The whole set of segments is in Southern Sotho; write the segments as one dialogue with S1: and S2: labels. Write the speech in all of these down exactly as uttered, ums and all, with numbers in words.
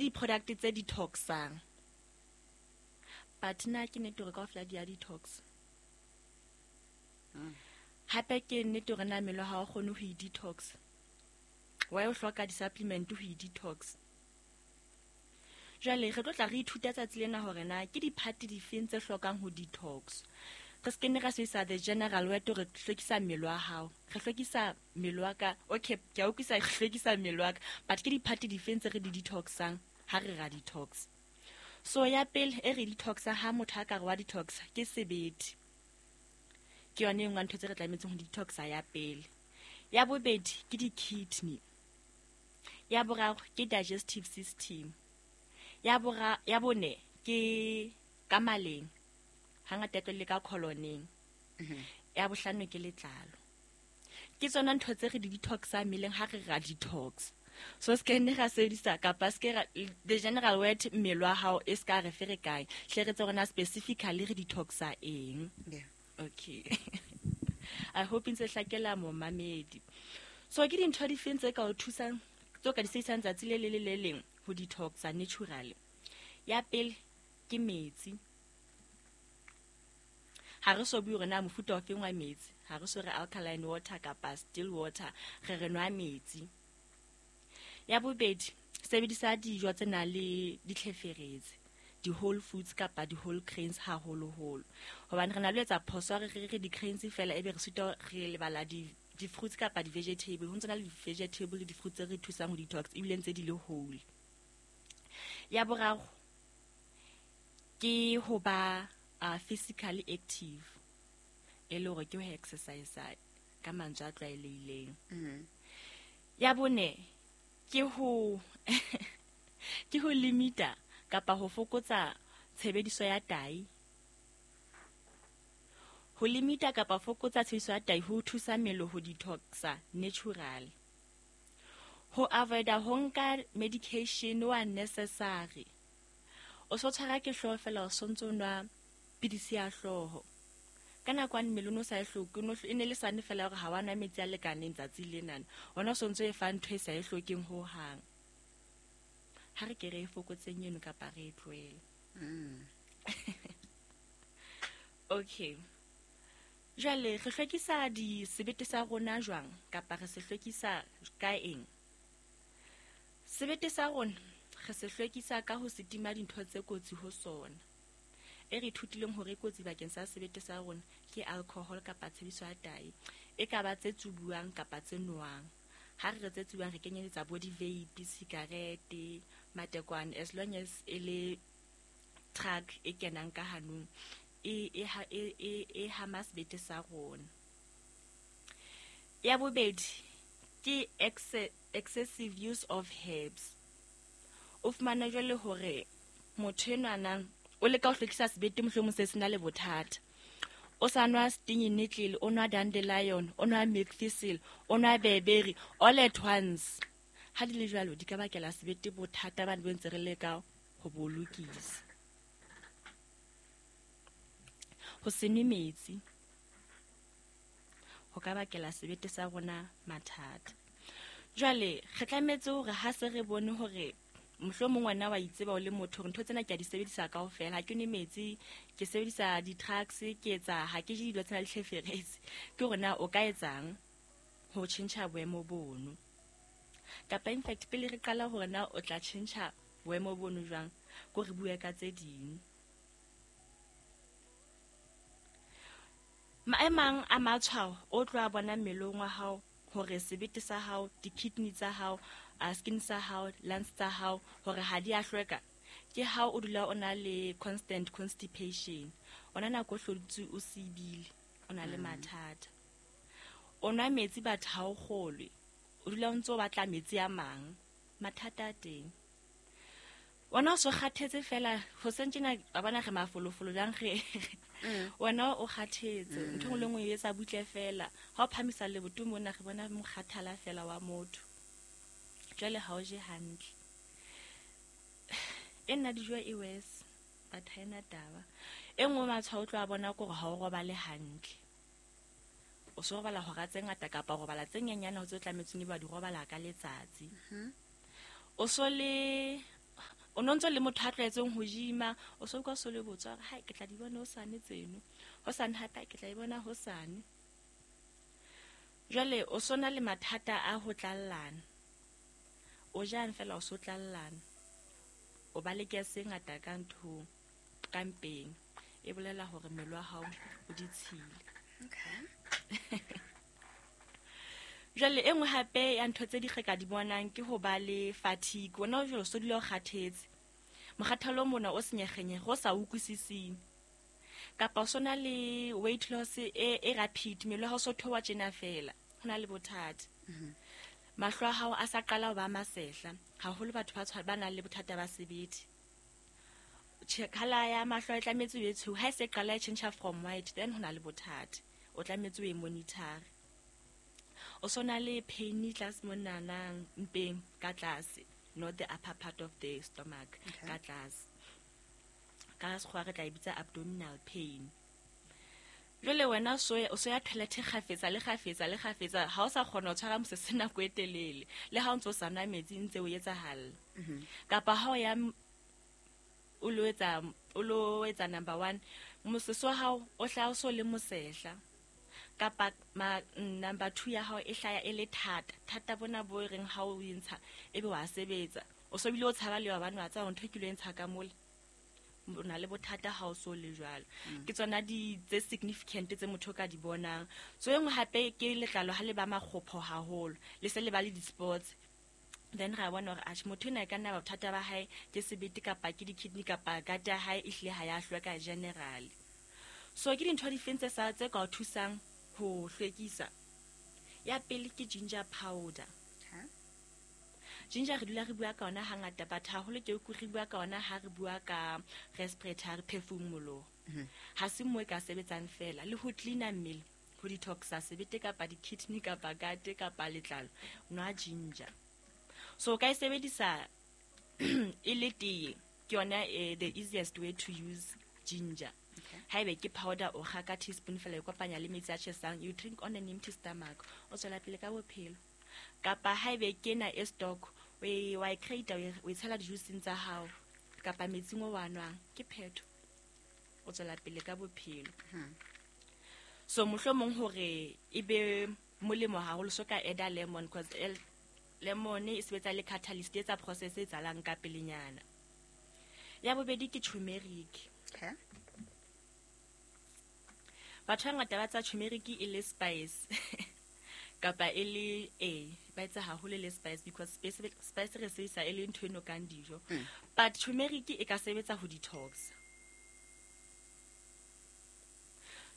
S1: di-product tse detoxang. But na ke nnete hore kaofela di a detox? Hape ke nnete hore na mmele wa hao o kgone ho e-detox? Why o hloka di-supplement ho e-detox? Jwale re tlo tla re ithuta tsatsi lena hore na ke di-part difeng tse hlokang ho detox. Re se ke nne ra sebedisa the general word hore re hlwekisa mmele wa hao. Re hlwekisa mmele wa ka. Okay, ke a utlwisisa re hlwekisa mmele wa ka. But ke di-part difeng tse re di detoxang ha re ra detox? So ya pele e re detoxa ha motho a ka re wa detox ke sebete. Ke yone e nngwe ya ntho tse re tlametseng ho detoxa ya pele. Ya bobedi ke di-kidney. Ya boraro ke digestive system. Ya bora ya bone ke ka maleng. Hangata e tlo le ka coloneng. Ya bohlano ke letlalo. Ke tsona ntho tse re di detoxang mmeleng ha re ra detox. So se ke nne ra sebedisa kapa se ke ra the general word mmele wa hao e ska re ferekanya. Hle re tse rona specifically re detoxa eng.
S2: Yeah.
S1: Okay. I hope ntse hlakela momamedi. So ke dintho difeng tse ka o thusang tse o ka di sebedisang tsatsi le le le le leng ho detoxa naturally? Ya pele ke metsi. Ha re so bue hore na mofuta o feng wa metsi, ha re so re alkaline water kapa still water, re re nwa metsi. Ya bobedi, sebedisa dijo tse nang le ditlheferetsi, di-whole foods kapa di-whole grains haholoholo. Hobane re na le ho etsa phoso ya re re re di-grains fela ebe re sitwa re lebala di di-fruits kapa di-vegetable. Ho ntso na le di-vegetable le di-fruits tse re thusang ho detox ebile ntse di le whole. Ya boraro ke ho ba uh, physically active, e le hore ke ho exercise ka mantswe a tlwaelehileng.
S2: Mm.
S1: Ya bone ke ho ke ho limita kapa ho fokotsa tshebediso ya tahi. Ho limita kapa fokotsa tshebediso ya tahi ho thusa mmele ho detoxa natural. Ho avoida ho nka medication o unnecessary. O so tshwara ke hlooho fela o sontso nwa pidisi ya hlooho. Ka nako ya mmele o no sa e hloke, o no e ne le sane fela hore ha wa nwa metsi a lekaneng tsatsi lenana. Ona o sontso e fa ntho e sa e hlokeng hohang. Ha re ke re e fokotseng eno kapa re e tlohele.
S2: Mm.
S1: Okay. Jwale re hlwekisa di sebete sa rona jwang kapa re se hlwekisa ka eng? Sebete sa rona re se hlwekisa ka ho se tima dintho tse kotsi ho sona. E re ithutileng hore e kotsi bakeng sa sebete sa rona ke alcohol kapa tshebediso ya tahi. E ka ba tse tsubuwang kapa tse nowang. Ha re re tse tsubuwang re kenyeletsa bo di-vape, sikarete, matekwane, as long as e le drug e kenang ka hanong e e ha e e e hama sebete sa rona. Ya bobedi ke excessive use of herbs. O fumana jwale hore motho enwana o leka ho hlwekisa sebete mohlomong se sena le bothata. O sa nwa stinging nettle, o nwa dandelion, o nwa milk thistle, o nwa berberi all at once. Ha di le jwalo di ka bakela sebete bothata ba bo ntse re leka ho bo lokisa. Ho se nwe metsi ho ka bakela sebete sa rona mathata. Jwale re tlametse hore ha se re bone hore mohlomong wena wa itseba o le motho hore ntho tsena ke a di sebedisa kaofela, ha ke nwe metsi, ke sebedisa di-drugs, ke etsa ha ke je dilo tsena le tlheferetsi, ke hore na o ka etsang ho tjhentjha boemo bono. Kapa in fact pele re qala hore na o tla tjhentjha boemo bono jwang, ko re bue ka tse ding. Maemang a matshwao o tlo a bona mmeleng wa hao hore sebete sa hao, di-kidney tsa hao, a skin sa hao, lungs tsa hao hore ha di a hlweka, ke ha o dula o na le constant constipation. Ona nako o hlodutse o sibile, o na le mathata. O nwa metsi batho ha o kgolwe, o dula o ntso o batla metsi a mang, mathata a teng. Wena o so kgathetse fela, hoseng tjena wa bona re mafolofolo jwang re wena o kgathetse, ntho e nngwe le nngwe e etsa butle fela. Ha o phamisa leboto mona re bona mokgathala fela wa motho. Jwale ha o je hantle. E nna dijo e worse, but ha ena taba. E nngwe matshwao o tlo a bona ke hore ha o robale hantle. O so robala hora tse ngata kapa o robala tse nyenyane ho tse tlametseng ebe wa di robala ka letsatsi. O so le O no ntso le motho a tlwaetseng ho gym-a, o so utlwa so le botswa hore hai ke tla di bona hosane tseno. Hosane hape ke tla e bona hosane. Jwale o so na le mathata a ho tlallana. O jang fela o so tlallana. O ba le gas e ngata ka nthong, ka mpeng. E bolela hore mmele wa hao o ditshila.
S2: Okay.
S1: Jwale e nngwe hape ya ntho tse di re ka di bonang ke ho ba le fatigue. Wena o jwale o so dula o kgathetse. Mokgathalo mona o senyegenyege, o sa utlwisising. Kapa o so na le weight loss e, e rapid, mmele wa hao o so theoha tjena fela. Ho na le bothata. Mahlo a hao a sa qala ho ba masehla, haholo batho ba tshwa-, ba nang le bothata ba sebete. Tjhe, colour ya mahlo e tlametse e be tshweu. Ha e se qala e tjhentjha from white, then ho na le bothata. O tlametse o e monitor. O so na le pain tlase monana mpeng ka tlase, not the upper part of the stomach,
S2: Okay.
S1: ka tlase. Ka sekgowa re tla e bitsa abdominal pain. Jwale wena o so ya, o so ya toilet kgafetsa le kgafetsa le kgafetsa, ha o sa kgona ho tshwara mosese nako e telele, le ha o ntso sa nwa metsi ntse o etsahalla.
S2: Mm-hmm.
S1: Kapa ha o ya m-, o lo etsa, o lo etsa number one, mosese wa hao o hlaha o so le mosehla. Kapa ma, number two ya hao e hlaya e le thata. Thata bona bo e reng ha o e ntsha, ebe wa sebetsa. O so bile o tshaba le wa bana wa tseba ntho e ke lo e ntsha ka mole. O na le bothata ha o so le jwalo.
S2: Mm.
S1: Ke tsona di tse significant tse motho o ka di bonang. So e nngwe hape ke letlalo ha le ba makgopho haholo, le se le ba le di-spots. Then ra bona hore atjhe motho ena e ka nna ba bothata ba hae ke sebete kapa ke di-kidney kapa gut ya hae e hlile ha ya hlweka generally. So ke dintho difeng tse sa tse ka o thusang ho hlwekisa? Ya pele ke ginger powder.
S2: Okay.
S1: Ginger re dula re bua ka yona hangata, but haholo ke utlwe re bua ka yona ha re bua ka respiratory phefumoloho.
S2: Mm-hmm.
S1: Ha se mo e ka sebetsang fela le ho cleaner mmele, ho detoxa sebete kapa di-kidney kapa gut kapa letlalo, nwa ginger. So o ka e sebedisa e le tee, ke yona, eh, the easiest way to use ginger.
S2: Okay.
S1: Haebe ke powder o kga ka teaspoon fela e kopanya le metsi a tjhesang, you drink on an empty stomach, o tswela pele ka bophelo. Kapa haebe ke ena e stock, o e, wa e create, o e, o e tshela di-juiceng tsa hao kapa metsing o wa nwang, ke phetho, o tswela pele ka bophelo.
S2: Hmm.
S1: So mohlomong hore e be molemo haholo, so ka add-a lemon, 'cause el-, lemon e sebetsa le catalyst, e etsa process e etsahalang ka pelenyana. Ya bobedi ke turmeric.
S2: Okay.
S1: Batho ba bangata ba tsa turmeric e le spice. Kapa e le, eh, ba etsa haholo e le spice because spice, spice re sebedisa e le ntho e nokang dijo.
S2: Mm.
S1: But turmeric e ka sebetsa ho detox.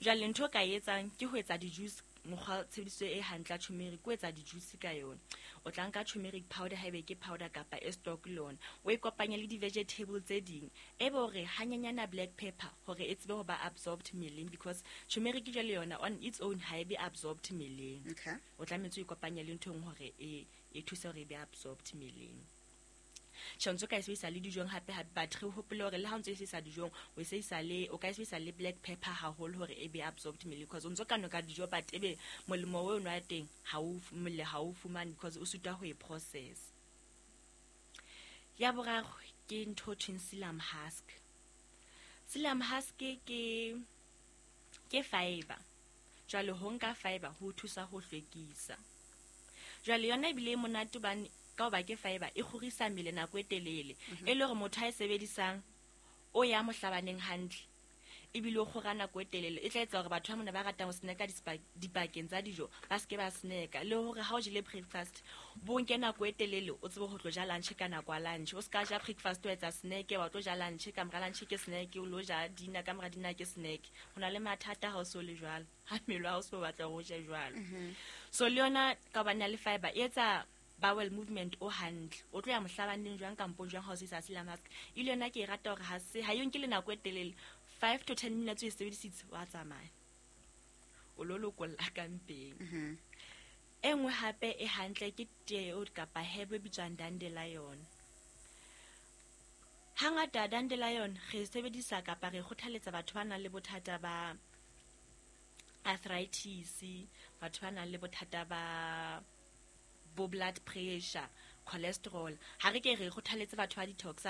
S1: Jwale ntho o ka e etsang ke ho etsa di-juice, mokgwa tshebediso e hantle ya turmeric, o etsa di-juice ka yona. O tla nka turmeric powder haebe ke powder kapa e stock le yona, o e kopanye le di-vegetable tse ding, e be hore hanyenyana black pepper hore e tsebe ho ba absorbed mmeleng, because turmeric jwale yona on its own ha e be absorbed mmeleng.
S2: Okay.
S1: O tlametse o ikopanye le ntho e nngwe hore e, e thuse hore e be absorbed mmeleng. Tjhe, o ntso ka e sebedisa le dijong hape hape, but re hopole hore le ha o ntso e sebedisa dijong, o e sebedisa le, o ka e sebedisa le black pepper haholo hore e be absorbed mmeleng, because o ntso ka noka dijo but ebe molemo o nwa teng ha o f-, mmele ha o fumane because o sitwa ho e process. Ya boraro ke ntho e thweng psyllium husk. Psyllium husk ke, ke fiber. Jwale ho nka fiber ho thusa ho hlwekisa. Jwale yona ebile e monate hobane ka hoba ke fiber e kgorisa mmele nako e telele.
S2: Mhm.
S1: E le hore motho a e sebedisang o ya mohlabaneng hantle, ebile o kgora nako e telele. E tla etsa hore batho ba mona ba ratang ho snacka dispa-, dipakeng tsa dijo ba seke ba snacka, le hore ha o jele breakfast bo nke nako e telele o tsebe ho tlo ja lunch ka nako ya lunch. O ska ja breakfast o etsa snack, wa tlo ja lunch, ka mora lunch ke snack, o lo ja dinner, ka mora dinner ke snack. Ho na le mathata ha o so le jwalo, ha mmele wa hao o so batla hore o je jwalo.
S2: Mhm.
S1: So le yona ka hobane ya le fiber e etsa bowel movement o hantle, o tlo ya mohlabaneng jwang kampo jwang ha o sebedisa psyllium husk. E le yona ke e rata hore ha se, ha e nke le nako e telele, five to ten minutes o e sebedisitse wa tsamaya, o lo lokolla ka mpeng.
S2: Mhm.
S1: E nngwe hape e hantle ke tee eo kapa herb e bitswang dandelion. Hangata dandelion re sebedisa kapa re kgothaletsa batho ba nang le bothata ba arthritis, batho ba nang le bothata ba bo blood pressure, cholesterol. Ha re ke re kgothaletse batho ba detox,